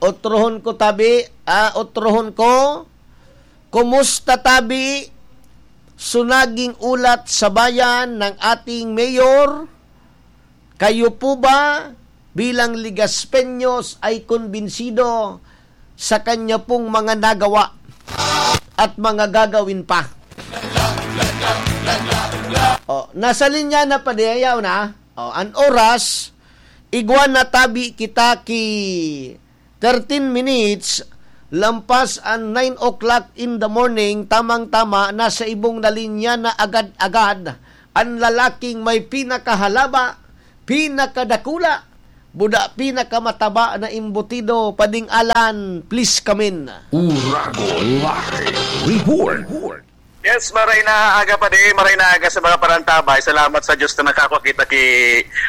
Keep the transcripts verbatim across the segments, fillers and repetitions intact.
Otrohon ko, tabi, ah, otrohon ko. Kumusta, tabi? Sunaging ulat sa bayan ng ating mayor. Kayo po ba bilang Legaspeños ay kumbinsido sa kanya pong mga nagawa at mga gagawin pa? Oh, nasa linya na pa diyaw na. Oh, an oras, igwa na, tabi, kita ki thirteen minutes lampas an nine o'clock in the morning, tamang-tama, nasa ibong na linya na agad-agad an lalaking may pinakahalaba, pinakadakula, buda, pinakamataba na embutido, Pading Alan, please come in. Uragon Live Report. Yes, maray na aga, padi, maray na aga sa mga parantabay. Salamat sa Diyos na nakakakita ki,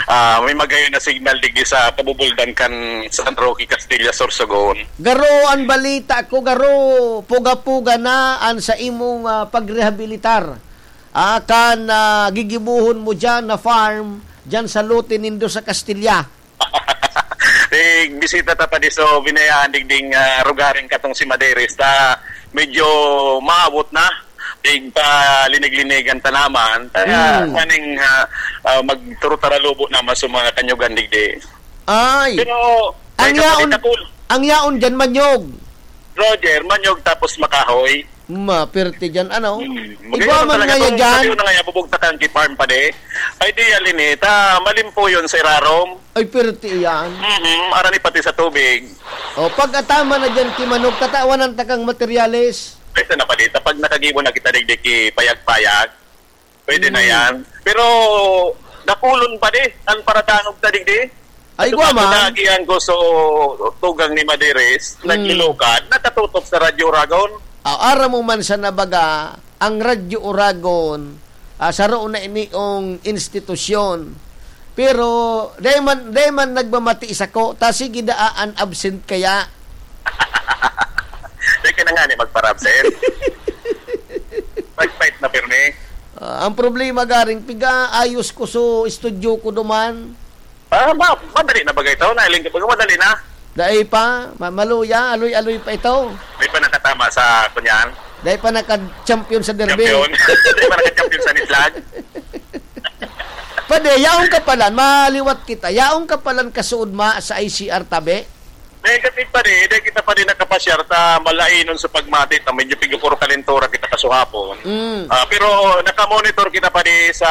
ah, may magayon na signal digdi sa kabubuldan kan San Roque, Castilla, Sorsogon. Garo, an balita ko, garo, puga-puga na an sa imong, ah, pagrehabilitar. Ah, kan, ah, gigibohon mo diyan na farm, diyan sa lote nindo sa Castilla. Nagbisita ta pa di so binayaan digding, ah, rugaring katong si Madeiros ta medyo maabot na. Tig palinig-linigan ta naman. Kaya Mm. kaning, ah, ah, magturo taralubo naman sa mga kanyugan digdi. Ay. Pero, Ang may yaon, kapatid ako, ang yaon dyan, manyog. Roger, manyog tapos makahoy. Ma, pirti dyan, ano? Hmm. Igwa Magayon man talaga ngaya tong dyan. sabi ko na nga, bubugtakan ki farm pa di. Ideal ini, ta malimpo yun sa irarom. Ay, pirti yan. Mhm, arani pati sa tubig. O, pag atama na dyan, ki manok, tatawanan ta kang materyales. Pwede na pala, pag nakagibo na kita digdi ki payag-payag, pwede na Mm. yan. Pero, dakulon pa di, ang paradangog ta digdi. Ay, Ito gwa pa, man. Nagiyan ko so tugang ni Madeiros, Mm. naglulukad, nakatutok sa Radyo Uragon. Ah, aram mo man sa nabaga, ang Radyo Uragon, ah, saro na iniong institusyon. Pero, dai man, dai man nagmamati sako, ta sige daa an absent kaya. Di ka na nga ni magparabsent. Fight-fight na pirmi. Ah, ang problema garing, piga ayos ko so studio ko duman. Ah, ma-, madali na bagay to. Nailing ka baga, madali na. Dai pa, ma-, maluya, aloy-aloy pa ito. Di pa nakatama sa kunyan. Dai pa naka-champion sa derby. Champion. Di pa naka-champion sa nislag. Pwede, yaong kapalan, maliwat kita. Yaong kapalan kasuod ma sa I C R tabi? Negative pa rin, dahil kita pa rin nakapasyar ta malainon sa pagmati ta medyo pigupuro kalentura kita kasuhapon. Mm. Ah, pero nakamonitor kita pa rin sa,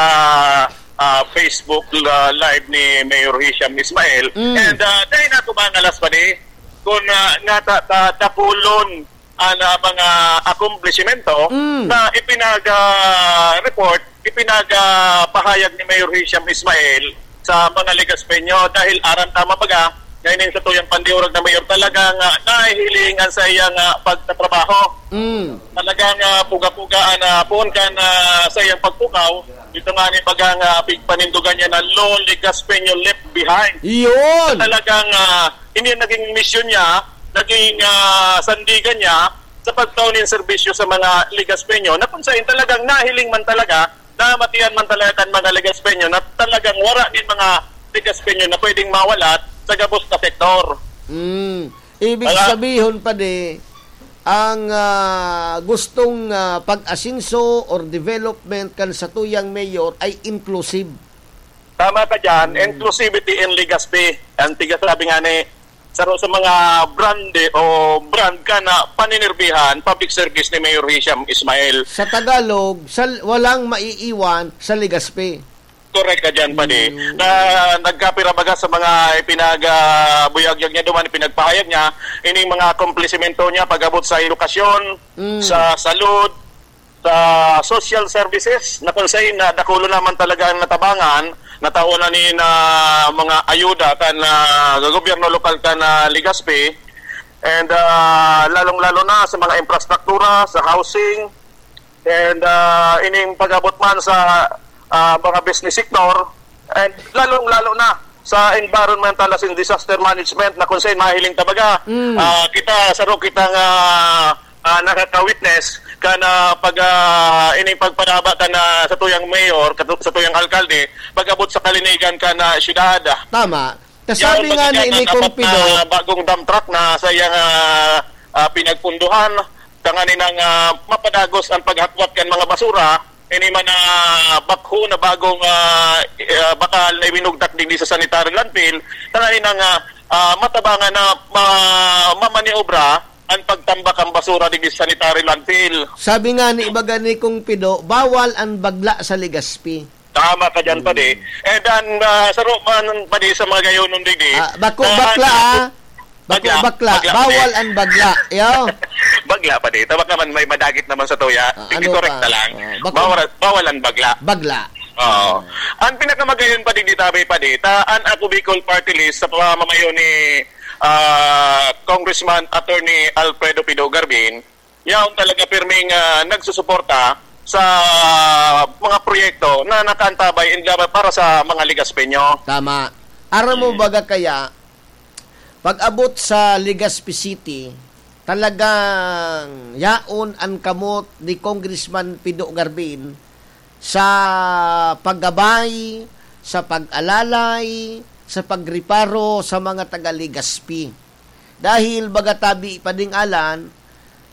ah, Facebook la-, live ni Mayor Hisham Ismail. Mm. And, ah, dahil na kumangalas pa rin, kung, ah, nga ta-, ta-, dakulon ang, ah, mga akomplishmento Mm. na ipinag-, ah, report, ipinag-, ah, pahayag ni Mayor Hisham Ismail sa mga Legaspeño dahil aram tama baga, ngayon sa tuyang pandiurag na mayor talagang, ah, nahihiling ang sa iyang, ah, pagtatrabaho. Mm. Talagang, ah, puga-puga ang, ah, puon kan, ah, sa iyang pagpukaw. Ito nga ni bagang, ah, pigpanindugan niya na Lone Legaspeño left behind. Yun! Talagang, ah, hindi naging misyon niya, naging, ah, sandigan niya sa pagtao nin serbisyo sa mga Legaspeño na kung saan talagang nahiling man talaga, namatian man talaga kan mga Legaspeño na talagang wara nin mga Legaspeño na pwedeng mawalat sa gabos na sektor. Mm. Ibig Wala. sabihon, padi, ang, ah, gustong, ah, pag-asenso or development kan satuyang mayor ay inclusive. Tama ka dyan, Mm. inclusivity in Legazpi. Ang tiga sabi nga ni, saro sa mga brand o brand ka na paninirbihan, public service ni Mayor Hisham Ismail. Sa Tagalog, sa, walang maiiwan sa Legazpi. Correct ka dyan, padi. Mm. Na nagkapira baga sa mga ipinag, ah, buyagyag niya duman, ipinagpahayag niya, ining mga akomplisimento niya pag-abot sa edukasyon, Mm. sa salud, sa social services, na kung saan na dakulo naman talaga ang natabangan, nataon na ni na mga ayuda kan, ah, gobyerno lokal kan, ah, Legazpi, and, ah, lalong-lalo na sa mga infrastruktura, sa housing, and, ah, ining pag-abot man sa, ah, mga business sector, and lalong-lalo na sa environmental as in disaster management na kung saan mahiling tabaga. Mm. Ah, kita, saro kitang, ah, ah, nakaka-witness ka na pag, ah, ining pagpadaba ka na sa tuyang mayor, katu-, sa tuyang alkalde, pag-abot sa kalinigan ka na syudad. Tama. Kasabi Yaon nga man ni, yan ni ang Kong apat na Pido. bagong dump truck na sa iyang, ah, ah, pinagpunduhan, tanganing, ah, mapadagos ang paghatwat kan mga basura, ini man na bakho na bagong, ah, ah, bakal na ibinugtak digdi sa sanitary landfill, tanganing, ah, ah, matabangan na ma-, mamaniobra ang pagtambak ang basura digdi sa sanitary landfill. Sabi nga ni ibaga ni Kong Pido, bawal ang bagla sa Legazpi. Tama ka dyan, Hmm. padi. And then, ah, saro man, padi, sa mga gayonon digdi, Ah, bako ah, bakla, ano, ah. Bako bakla, bakla, bakla, padi. Bawal ang bagla. Yo. Bagla, padi. Tabak naman, may madagit naman sa tuya. Ah, Sige, ano correct pa? na lang. Ah, bako Bawal, bawal ang bagla. Bagla. Oo. Ah. Ang pinakamagayon, padi, di tabi, padi, ta, an Ako Bicol Party List sa pamamayo ni, ah, Congressman Attorney Alfredo Pido Garbin, yaon talaga pirming, ah, nagsusuporta sa mga proyekto na nakaantabay in, para sa mga Legazpeño. Tama. Aram mo Mm. baga kaya, pag-abot sa Legazpi City, talagang yaon an kamot ni Congressman Pido Garbin sa paggabay, sa pag-alalay, sa pagreparo sa mga taga Legazpi. Dahil baga tabi pa ding Alan,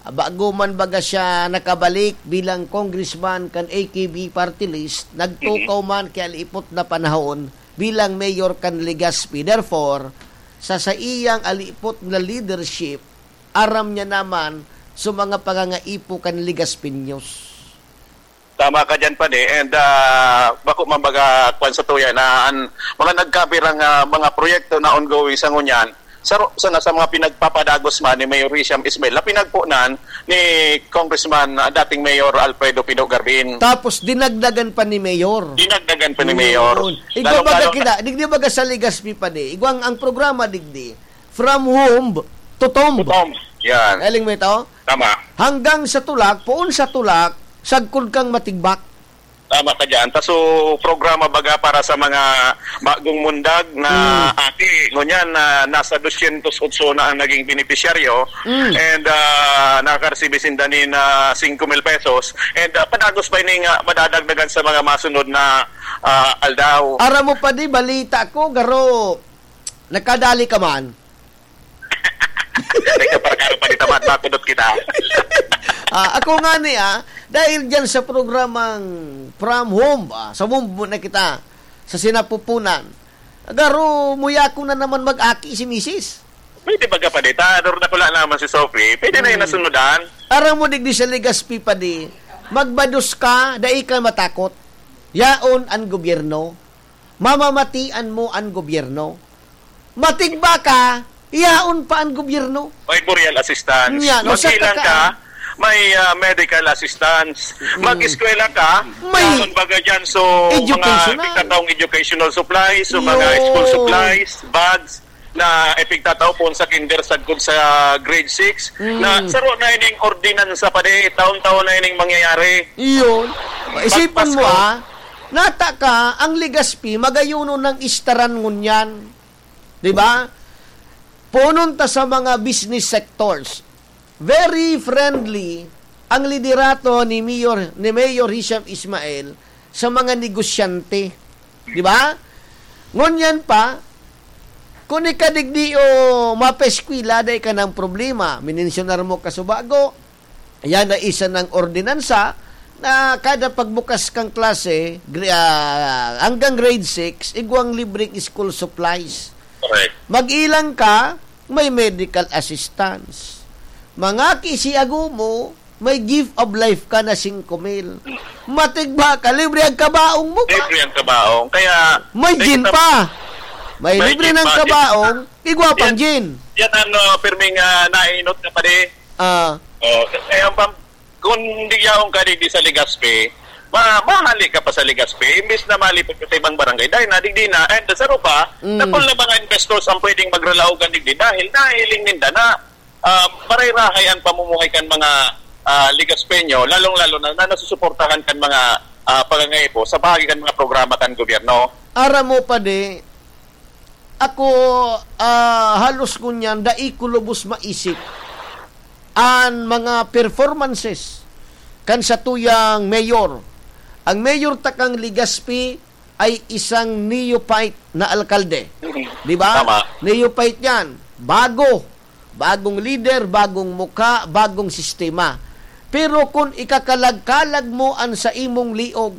bago man baga siya nakabalik bilang congressman kan A K B party list, nagtukaw Mhm. man ki alipot na panahon bilang mayor kan Legazpi. Therefore, sa saiyang alipot na leadership, aram niya naman sa mga pangangaipo kan Legazpeños. Tama ka dyan, padi. And, ah, bako man baga kwan sa tuya na an mga nagkabirang, ah, mga proyekto na ongoing sa ngunyan, saro sana sa mga pinagpapadagos man ni Mayor Hisham Ismail na pinagponan ni Congressman, ah, dating Mayor Alfredo Pido Garbin. Tapos dinagdagan pa ni Mayor. Dinagdagan pa ni Mayor. Yun. Igwa Lalong-lalo baga na kita, digdi baga sa Legazpi, padi. Igwang ang programa digdi, from womb to tomb. To tomb. Yan. Galing mo ito? Tama. Hanggang sa tulak, poon sa tulak, sagkod kang matigbak. Tama ka dyan. Ta, so, programa baga para sa mga bagong mundag na Hmm. aki, ngunyan na nasa dosyentos otso na ang naging benepisyaryo. Hmm. And, ah, nakakaresibi sinda nin, ah, singko mil pesos. And, ah, padagos pa ini nga madadagdagan sa mga masunod na, ah, aldaw. Aram mo, padi, balita ko, garo, nagkadali ka man. Teka, para karo pa kita, mat-, makudot kita. Ah, ako nga ni, ah, dahil dyan sa programang From Home, ah, sa Home muna kita, sa sinapupunan. Garo, muya ko na naman mag-aki si misis. Pwede baga pa dita, Dor, dakula naman si Sophie. Pwede na yung Hmm. nasunudan. Aram mo, digdi sa Legazpi, padi, magbados ka, dai ka matakot. Yaon an gobyerno. Mamamatian mo an gobyerno. Matigba ka, yaon pa an gobyerno. May burial assistance. Yan, o, sa Mag-ilang takaan. ka, may, ah, medical assistance. Mm. Mag-eskwela ka, May yaon baga dyan. So, mga Educational. pagkataong educational supplies, so, mga Yun. school supplies, bags, na epigtatao poon sa kinder sagkod sa grade six, Mm. na saro na ining ordinansa pa di, taon-taon na ining mangyayari. Iyon. Isipon mo, Pagpasko. ah, nata ka, ang Legazpi, magayuno ng istaran ngunyan. Di ba? Punon ta sa mga business sectors. Very friendly ang liderato ni Mayor, ni Mayor Hisham Ismail sa mga negosyante. Di ba? Ngunyan pa, kung ikadigdi o mapeskwila, dai ka ng problema. Minensyonar mo kasubago, yan na isa ng ordinansa na kada pagbukas kang klase, gre-, ah, hanggang grade six, igwang libreng school supplies. Correct. Mag-ilang ka, may medical assistance. Mangaki si ago mo, may gift of life ka na singko mil. Matigba ka, libre ang kabaong mo pa. Libre ang kabaong. Kaya, May may gin kita-, pa. May may libre gin ng pa, gin. kabaong, igwa pang Yan, gin. yan ang, uh, pirming, uh, nainot na pare. Ah. Oh, kaya ang pam-, kung di yaon ka digdi sa Legazpi, ma-, mahali ka pa sa Legazpi, imbis na malipot ka sa ibang barangay, dahil na digdi na, and sa rupa, Mm. dakul na mga investors ang pwedeng magralaogan digdi dahil nahiling ninda na, ah, maray-rahay ang pamumuhay kan mga, ah, Legazpeño, lalong-lalo na, na nasusuportahan kan mga, ah, pagangaipo sa bahagi kan mga programa kan gobyerno. Aram mo, padi, ako, ah, halos ngunyan, dai ko lubos maisip an mga performances kan satuyang mayor. Ang mayor takang Legazpi ay isang neophyte na alkalde. Mhm. Di ba? Tama. Neophyte yan. Bago. Bagong lider, bagong mukha, bagong sistema. Pero kun ikakalagkalag mo an sa imong liog,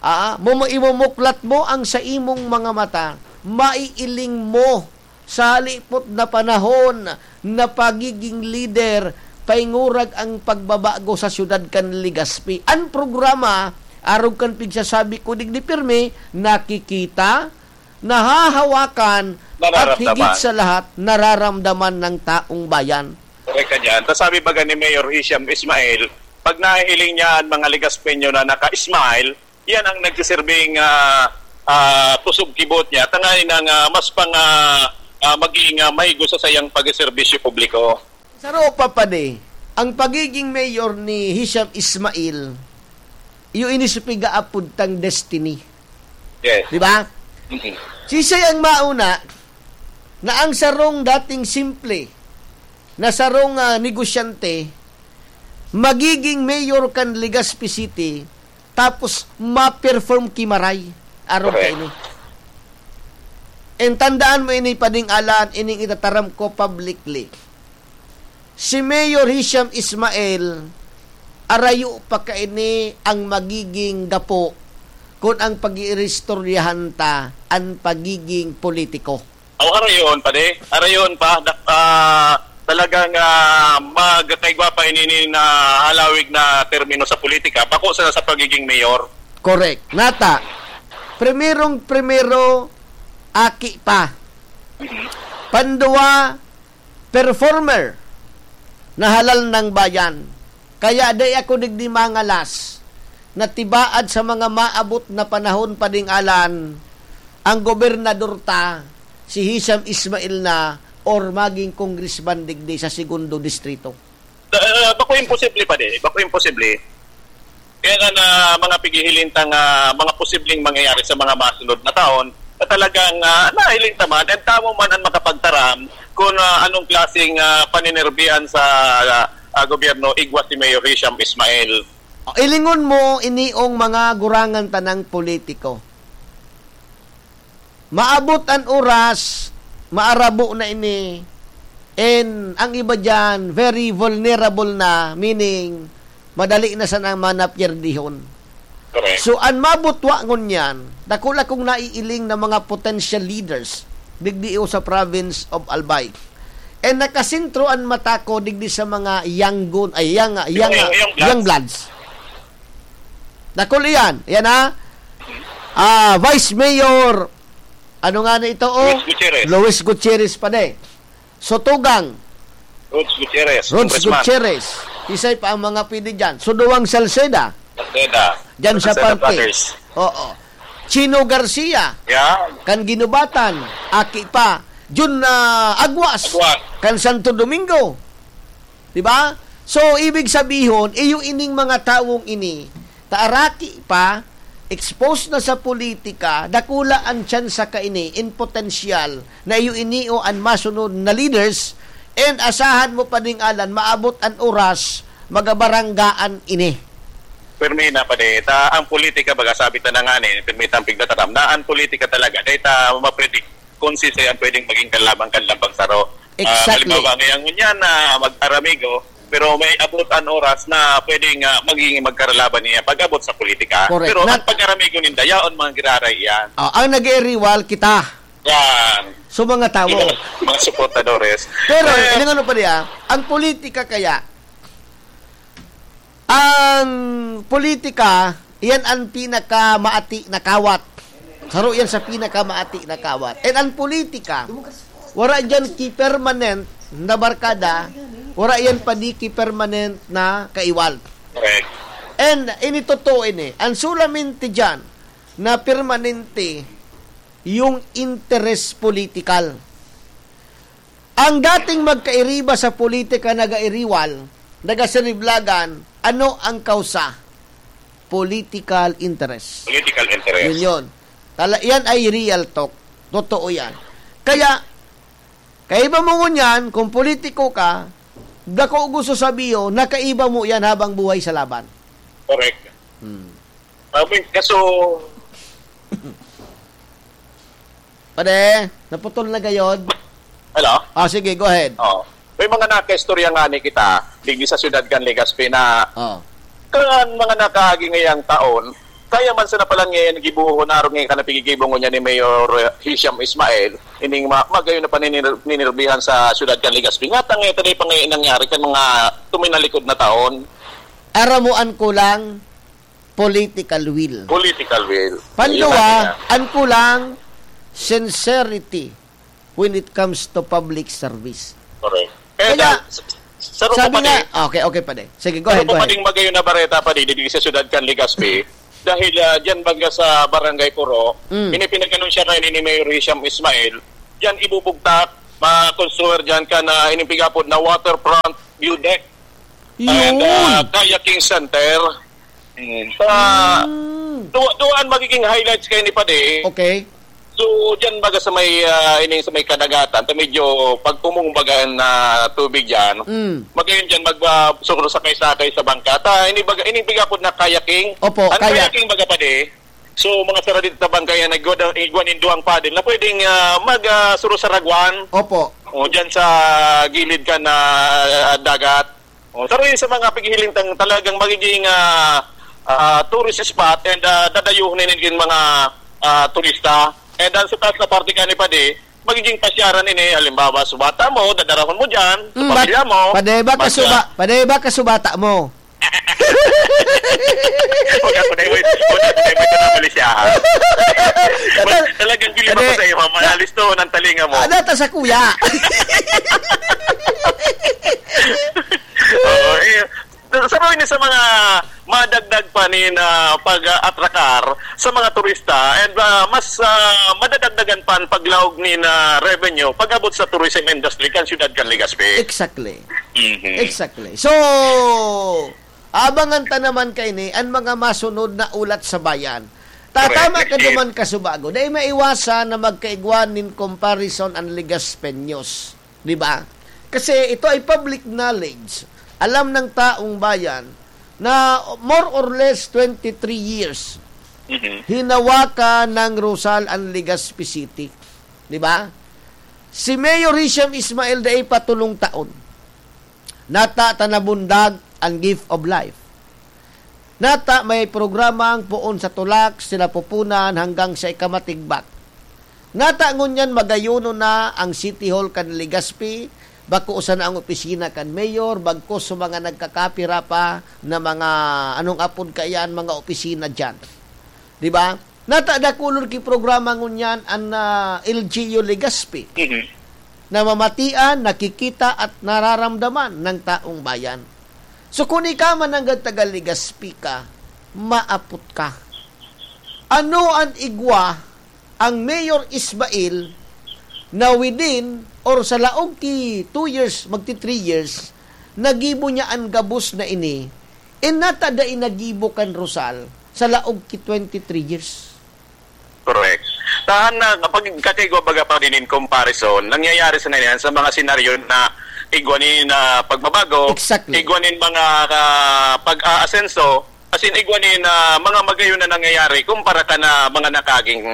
ah, mo, mo, imumuklat mo ang sa imong mga mata, maiiling mo sa halipot na panahon na pagiging lider, paingurag ang pagbabago sa siyudad kan Legazpi. An programa, arog kan pigsasabi ko digdi pirmi, nakikita, nahahawakan, at Nararamdaman. higit sa lahat, nararamdaman ng taong bayan. Correct ka dyan. Tas sabi baga ni Mayor Hisham Ismail, pag nahihiling niya ang mga Legazpeño na naka-smile, yan ang nagsisilbing, ah, ah, kusog kibot niya. Tangayin ang, ah, mas pang, ah, ah, maging, ah, mahigos sa sayang pagserbisyo publiko. Saro pa, padi, ang pagiging mayor ni Hisham Ismail, iyo ini sa pigaapod tang destiny. Yes. Di ba? Mhm. Siisay ang mauna na ang sarong dating simple na sarong, ah, negosyante magiging mayor kan Legazpi City, tapos ma-perform ki maray arog Correct. kaini. And tandaan mo ini, Pading Alan, ining itataram ko publicly. Si Mayor Hisham Ismail, arayo pa kaini ang magiging gapo kun ang pag-iiristoryahan ta an pagiging politiko. Aw, harayon pa di. Harayon pa. Da-, ah, talagang, ah, magkaigwa pa ini na halawig na termino sa politika. Bako sa, sa pagiging mayor. Correct. Nata, primerong primero, aki pa. Pandua, performer na halal ng bayan. Kaya di ako digdi mangalas na tibaad sa mga maabot na panahon, Pading Alan, ang gobernador ta, si Hisham Ismail na, or maging congressman digdi sa segundo distrito. Ah, bako imposible pa di. Bako imposible. Kaya nga na mga pighihiling ta nga mga posibleng mangyayari sa mga masunod na taon, na talagang, ah, nahiling ta man, and tamo man ang makapagtaram kung, ah, anong klaseng, ah, paninerbihan sa, ah, ah, gobyerno igwa si Mayor Hisham Ismail. O, ilingon mo, iniong mga gurangan tanang politiko. Maabot an oras, maarabo na ini, and ang iba diyan, very vulnerable na, meaning, madali na sanang manapyerdihon. Correct. So, an mabutwa ngunyan, dakula kong naiiling na mga potential leaders, digdi o sa province of Albay. And nakasentro an mata ko digdi sa mga young gun-, ay, young, young, Yung, yung young bloods. Dakul iyan. Yan, ha? Ah, Vice Mayor, ano nga na ito, oh? Luis Gutierrez. Luis Gutierrez pa di. Sotugang. Rods Gutierrez, Rods Congressman. Gutierrez. Isay pa ang mga pwede dyan. Suduwang Salceda. Salceda. Dyan sa Salceda parke. Brothers. Oo. Chino Garcia. Yeah. Kan Guinobatan. Aki pa. Jun, ah, Aguas. Aguas. Kan Santo Domingo. Di ba? So, ibig sabihon, iyo ining mga tawong ini, ta araki pa, exposed na sa politika, dakula an tsansa kaini in potensyal na iyo ini o an masunod na leaders, and asahan mo pa ding alan, maabot an oras, magabaranggaan ini. Permi na pa di. Ta, ang politika, baga sabi ta na nga ni, permi ta ang pigtataram, na ang politika talaga, dahil ta mapredict kung sisay ang pwedeng maging kalaban kan lambang saro. Ah, exactly. Halimbawa, ngayon ngunyan na mag-aramigo, pero may abot an oras na pwedeng, ah, maging magkaralaban niya pag-abot sa politika. Correct. Pero Nat- ang pag-aramigo ninda, yaon mga giraray iyan. Ah, ang nag-eeriwal, kita. Yan. So, mga tao. Mga, mga suportadores. Pero, Eh, ilang ano pa niya, ang politika kaya, ang politika, iyan ang pinakamaati na kawat. Saro yan sa pinakamaati na kawat. And ang politika, wala dyan ki permanent na barkada, wala yan pa di ki permanent na kaiwal. Correct. And ini totoo ini, ang solamente dyan na permanente yung interes politikal. Ang dating magkairiba sa politika, nagairiwal, nagasiriblagan, ano ang kausa? Political interest. Political interest. Yun yun. Tala-, yan ay real talk. Totoo yan. Kaya, kaiba mo ngunyan, kung politiko ka, dako gusto sabihin, nakaiba mo yan habang buhay sa laban. Correct. Hmm. Ah, may kaso, Pare, naputol na gayod. Hello? Ah, sige, go ahead. Oh. May mga nakaistorya nga ni kita, digdi sa siyudad kan Legazpi na Oh. kan mga nakaagi ngayang taon, kaya man sana pala ngayon gibuhon arog ngayon kan pigigibong niya ni Mayor, eh, Hisham Ismail, ining ma-, magayon na paninir-, ninirbihan sa siyudad kan Legazpi. Nga tangay tayo pa ngayon nangyari kan mga tuminalikod na taon. Aramuan ko lang, political will. Political will. Panduwa, Yun lang yan. ang kulang, sincerity when it comes to public service. Correct. Eh, Kaya, dahil, s-, s-, saro ko sabi pa nga, din. okay, okay, pare. Sige, go Saro ahead, ko go pa ahead. ding magayon na bareta pa din, digdi sa siyudad kan Legazpi. Dahil, ah, dyan baga sa Barangay Puro, Mm. ini pinag-anunsya kayo ni Mayor Hisham Ismail, dyan ibubugtak, ma-construir dyan ka na inipigapod na waterfront view deck. And, Yun. ah, kayaking center. Mm. Sa Mm. duwa, duwa ang magiging highlights kayo ni Padi. Okay. So, dyan baga sa may, ah, ining sa may kadagatan, ta medyo pag umong baga na tubig dyan, Mm. magayon dyan mag, ah, sukro sakay-sakay sa bangka. Ta, ini baga, ini baga po na kayaking. Opo, Ang kayak. kayaking baga, Padi, so, mga sara dito na bangka yan, nagwa-, igwa nin duwang paddle na pwedeng, ah, mag, ah, suro sa ragwan. Opo. O, dyan sa gilid ka na, ah, dagat. O, saro yun sa mga paghihiling tang talagang magiging, ah, ah, tourist spot and, ah, dadayuhon na yun yung mga, ah, turista. And, ah, sa taas na parte ka ni Padi, magiging pasyaran ini. Halimbawa, subata mo, dadarahon mo dyan, sa Mm, bat-, pamilya mo. Padi ba Mag, kasuba-, ah, padi ba kasubata mo? Huwag ako na, wait. Huwag ako na, wait, na mali siya, ha? Wait, talagang gili Padi. ako sa iyo, ha? Manalis to, ng talinga mo. Ah, data sa kuya. Oo, eh, sa mga ini sa mga madagdag pa ni na pag-atrakar sa mga turista and, ah, mas, ah, madadagdagan pa ang paglaog ni na revenue pag-abot sa tourism industry kan siyudad kan Legazpi. Exactly. Mhm. Exactly. So, abangan ta naman kaini an mga masunod na ulat sa bayan. Tatama Correct. ka naman, Kasubago. Dai maiwasan na magkaigwa nin comparison an Legazpeños. Di ba? Kasi ito ay public knowledge. Alam ng taong bayan na more or less twenty-three years Mhm. hinawakan ng Rosal ang Legazpi City. Di ba? Si Mayor Hisham Ismail dai pa tolong taon. Nata ta nabundag ang gift of life. Nata may programang poon sa tulak, sinapupunan hanggang sa ikamatigbak. Nata ngunyan magayonon na ang City Hall kan Legazpi, bako sana ang opisina kan mayor, bagko sa mga nagkakapira pa na mga, anong apod kaiyan, mga opisina diyan. Di ba? Nata dakulon ki programa ngunyan an, ah, L G U Legazpi. Mhm. Namamatian, nakikita at nararamdaman ng taong bayan. So, kung ikaw man nanggad taga Legazpi ka, maapot ka. Ano an igwa ang Mayor Ismail na within or sa laog ki two years, magti three years, nagibo niya an gabos na ini, e nata dai nagibo kan Rosal sa laog ki twenty-three years. Correct. Tahan na, kapag kakaigwa baga pa din in comparison, nangyayari sa nangyayari sa mga senaryo na igwa ni na pagbabago, Exactly. igwa nin mga, ah, pag-aasenso, as in, igwa ni na mga magayon na nangyayari kumpara ka na mga nakaging,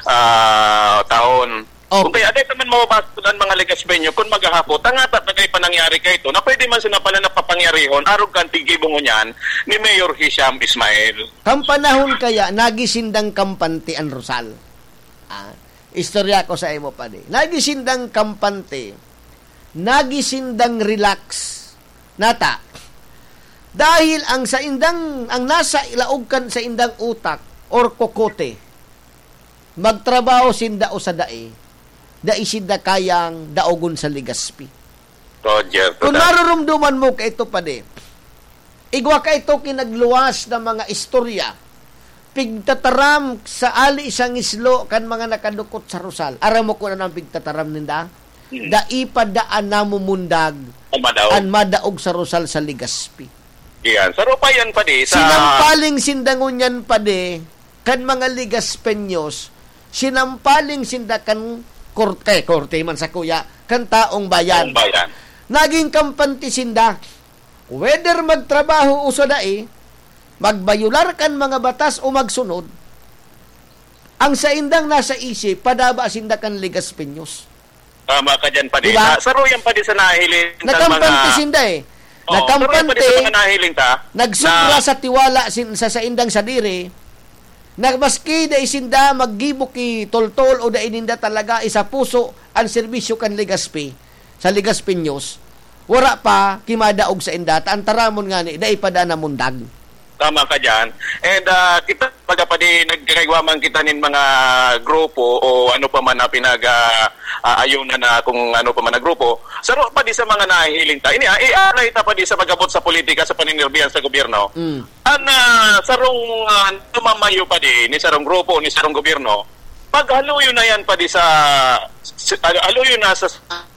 ah, taon. Okay. Kung kaya, dahil naman mababasa ang mga Legazpeño, kung maghahapot, ang atat na kayo pa nangyari kayo ito, na pwede man sila pala napapangyarihon, arog kan tigibong niyan ni Mayor Hisham Ismail. Kan panahon kaya, nagi sindang kampante an Rosal. Ah, istorya ko sa imo, padi. Nagi sindang kampante, nagi sindang relax. Nata, dahil ang saindang, ang nasa laog kan saindang utak or kokote, magtrabaho sinda o sa dai, dai sinda kayang daogon sa Legazpi. Roger, Kung totoo. narurumduman mo ka ito, padi, igwa ka ito kinagluwas na mga istorya, pigtataram sa ali sa ngislo kan mga nakadukot sa Rosal. Aram mo kung ano ang pigtataram ninda? Hmm. Dai pa daan namumundag Ang madaog. an madaog sa Rosal sa Legazpi. Yan. Sa Rupayan pa di, sa Sinampaling sinda ngunyan, padi, kan mga Legazpeños, sinampaling sinda kan korte, korte man sa kuya, kan taong bayan. Taong bayan. Naging kampante sinda, whether magtrabaho o sa dai, magbayular kan mga batas o magsunod, Ang saindang nasa isip, padaba sinda kan Legazpeños. Tama ka dyan, Padi. Di ba? Sa, saro yan, Padi, sa nahiling tang Nakampante mga sinda eh. Oo, saro yan, Padi, sa Nakampante, mga nahiling ta, nagsubra na sa tiwala sin-, sa saindang sadiri, na maski dai sinda maggibo ki toltol o dai ninda talaga isapuso an serbisyo kan Legazpi, sa Legazpeños, wara pa kimadaog sainda, ta an taramon ngani, dai pa daa namundag. Tama ka dyan. And, ah, kita, baga, Padi, nagkakaigwa man kita nin mga grupo o ano pa man na pinag, ah, ah, ayunan na kung ano pa man na grupo. Saro, Padi, sa mga nahihiling ta. Ini, ah, i-apply ta, Padi, sa pag-abot sa politika, sa paninirbihan sa gobyerno. Mm. An, ah, sarong, ah, namamayo, Padi, ni sarong grupo, ni sarong gobyerno, paghaluyo na yan, Padi, sa, sa, haluyo na sa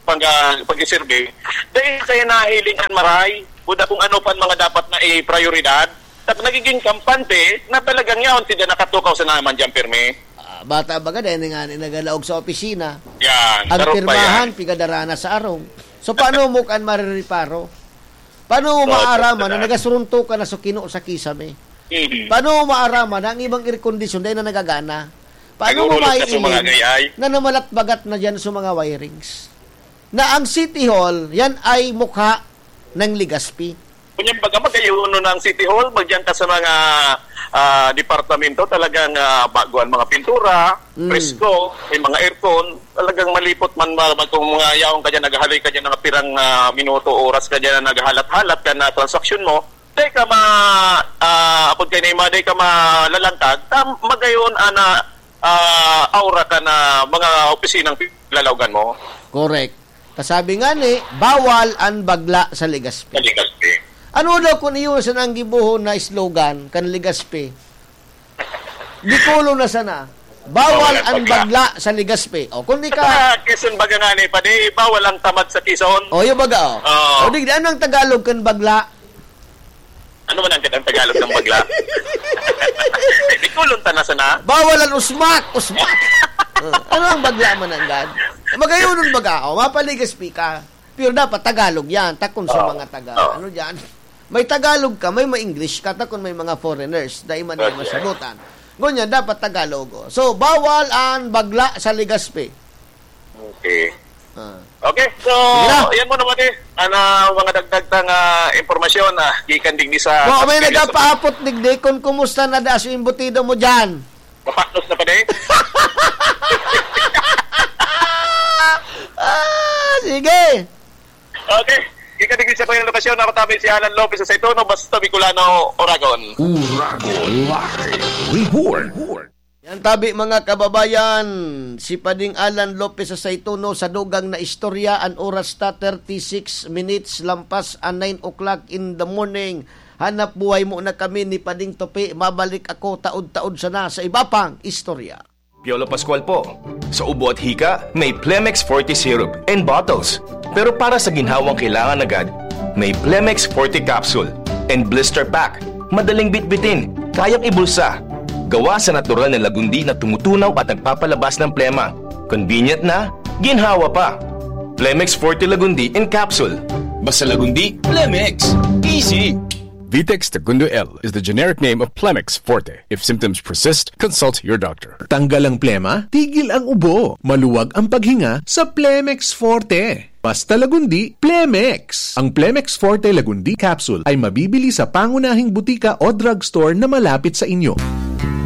pag, ah, pag-survey, dahil kaya nahiling an maray, buda kung ano pa an mga dapat na i-prioridad, at nagiging kampante na talagang yaon, sinda nakatukaw sa naman dyan, pirmi. Ah, bata baga, dahil nga ni nagalaog sa opisina. Yan, Ang sarong pa pirmahan, yan. Pigadara na sa arong. So, paano mo kan marireparo? Paano mo Oo, maaraman na totoo. Nagasurunto ka na sa kino sa kisame? Mhm. Paano mo maaraman na ang ibang air condition dahil na nagagana? Paano mo Naghuhulog na sa mga maiiling gayay? na namalatbagat na dyan sa mga wirings? Na ang City Hall, yan ay mukha ng Legazpi. Kunyang baga, magayon na ang City Hall, magdiyan ka sa mga, ah, departamento, talagang, ah, bago ang mga pintura, Mm. presko, may mga aircon, talagang malipot man ma-, mag-, kung mga yaon ka dyan, naghahaloy ka dyan ng pirang, ah, minuto, oras ka dyan na naghahalat-halat ka na transaksyon mo, dai ka ma-, ah, apod kay Neymar, dai ka malalangkag, tam-, magayon ana, ah, aura ka na mga opisinang lalaogan mo. Correct. Kasabi nga ni, bawal an bagla sa Legazpi. Sa Legazpi. Ano daw kun iyo sana ang gibohon na slogan kan Legazpi? Bicolon na sana. Bawal Bawal ang ang bagla. bagla sa Legazpi. O, kung di ka Sa Quezon baga nga ni, Padi, bawal ang tamad sa Quezon. O, yung baga, o. Oo. O, di, ano ang Tagalog kan bagla? Ano man ang kitang Tagalog ng bagla? Bicolon ta na sana. Bawal ang usmat, usmat. Ah, ano ang bagla man ang gad? Magayonon baga ako, mapaligas ka. Pero dapat Tagalog yan, takon sa Oo. mga taga, Oo. ano dyan? May Tagalog ka, may ma-English ka, takon may mga foreigners, dahil man Okay. yung masabutan. Ngunyan, dapat Tagalog. Oh. So, bawal ang bagla sa Legazpi. Okay. Ah. Okay, so, Sige na. yan mo naman eh. Ano, mga dagdag tang, ah, impormasyon, ah, gikan digdi sa Wa, may Pilipinas. nagpapaapot digdi kung kumusta na daas yung embutido mo dyan. Mapaklos na pa din. Ah, sige. Okay. Gikan digdi sa Panginoon Pasyon, ako tabi si Alan Lopez sa Saituno, basta Bicolano, Oragon. Oragon Live Report. Yan tabi, mga kababayan, si Pading Alan Lopez sa Saituno sa dugang na istorya. An oras ta, thirty-six minutes lampas an nine o'clock in the morning. Hanap buhay muna kami ni Pading Tope. Mabalik ako taod-taod sana sa iba pang istorya. Piolo Pascual po. Sa ubo at hika, may Plemex Forte Syrup and bottles. Pero para sa ginhawang kailangan agad, may Plemex Forte Capsule and Blister Pack. Madaling bitbitin, kayang ibulsa. Gawa sa natural na lagundi na tumutunaw at nagpapalabas ng plema. Convenient na, ginhawa pa. Plemex Forte Lagundi in Capsule. Basta Lagundi, Plemex. Easy! Vitex Segundo L is the generic name of Plemex Forte. If symptoms persist, consult your doctor. Tanggal ang plema, tigil ang ubo. Maluwag ang paghinga sa Plemex Forte. Basta Lagundi, Plemex. Ang Plemex Forte Lagundi Capsule ay mabibili sa pangunahing butika o drugstore na malapit sa inyo.